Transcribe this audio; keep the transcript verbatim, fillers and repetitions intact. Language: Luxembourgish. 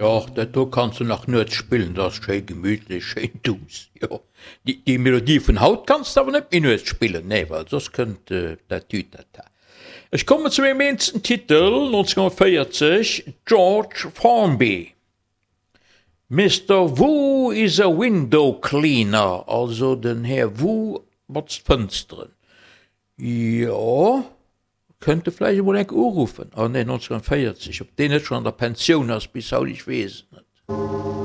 Jo, dat do kanns de nach nuets spillen, dat ass schéi gemütlech, schéin duuss, jo. Déi, déi Melodie vun haut kanns de awer net méi nuets spillen, nee, well soss kënnt dat Tütata. Ech kommen zu mengem eenzesten Titel, neunzehnhundertvéierzeg, George Formby, Mister Wu is a window cleaner, also den Här Wu botzt d'Fënsteren. Jo, kënnt e vläicht emol enk uruffen. Oh nee, neunzehnhundertvéierzeg, ob deen net schonn an der Pensioun ass bis haut, ech weess et net.